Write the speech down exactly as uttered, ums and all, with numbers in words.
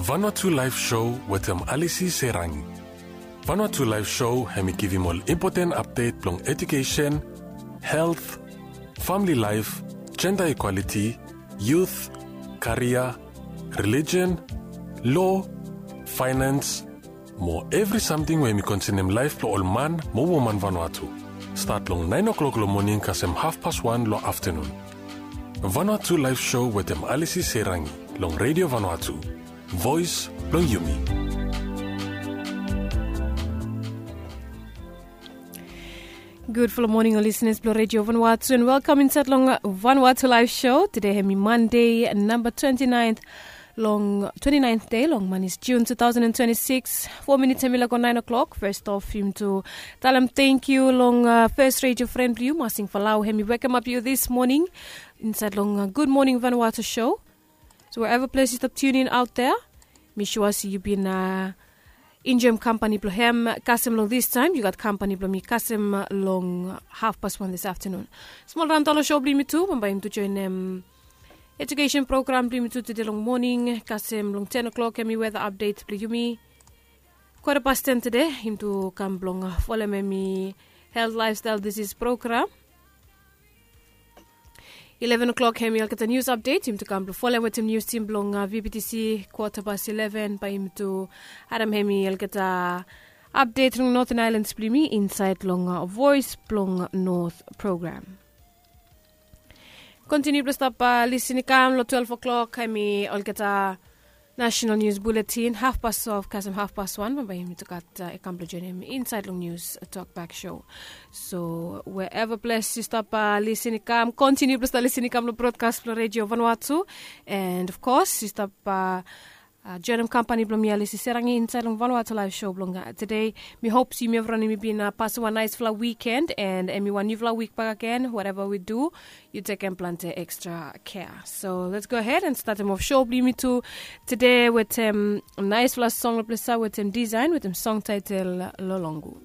Vanuatu Live Show wetem Alisi Serangi. Vanuatu Live Show hemi givim ol impoten apdet blong ejukesen, helt, famili laef, jenda ikwaliti, yut, karia, relijion, lo, faenans, mo evri samting we hemi konsenem laef blong ol man mo woman Vanuatu. Stat long naen oklok long moning kasem hafpas wan long aftenun. Vanuatu Live Show wetem Alisi Serangi long Redio Vanuatu, voes blong yumi. Gudfala moning ol lisenas blong Redio Vanuatu, and welkam insaed long Vanuatu Live Show. Tede hemi Mande namba twenti naen long twenti naen dei long manis Jun two thousand and twenty-six. Fo minits hemi lago naen oklok. Fes of yumi tu talem tangkiu long fes redio fren blong yu, Masing Falau, hemi wekemap yu dis moning insaed long Gud Moning Vanuatu Show. So wherever ples yu stap tunin aot dea, mi sua se yu bin enjoem kampani blong hem kasem long distaem. Yu gat kampani blong mi kasem long hafpas wan dis aftenun. Smol raon talo sho blong yumi tu, bambae yumi tu joenem ejukesen program blong yumi tu tede long moning kasem long ten oklok hemi weta apdet blong yumi. Kwata pas ten tede yumi tu kam blong folem hemi helt, laefstael, disis program. Ileven oklok hemi olgeta nius apdet yumi tu kam blong folem wetem nius tim blong VBTC. Kwata pas ileven bae yumi tu harem hemi olgeta apdet long Noten Aelans blong yumi insaed long Voes blong Not program. Kontiniu blong stap lisin i kam long twelve oklok hemi olgeta nasenal nius buletin. Hafpas twelve kasem hafpas wan bambae yumi tu gat i kam blong joenem insaed long nius tokbak sho. So wherever ples yu stap lisin i kam, kontiniu blong stap lisin i kam long brodkas blong Redio Vanuatu. And of course yu stap joenem kampani blong mi, Alisi Serangi, insaed long Vanuatu Live Show blong tede. Mi hop se yumi evriwan yumi bin pasem wan naesfala wiken and hemi wan niufala wik bakegen. Whatever we do, yu tekem plante ekstra kea. So let's go ahead and statem of sho blong yumi tu tede wetem naesfala song long ples ia wetem Design wetem song taetel Lolongu.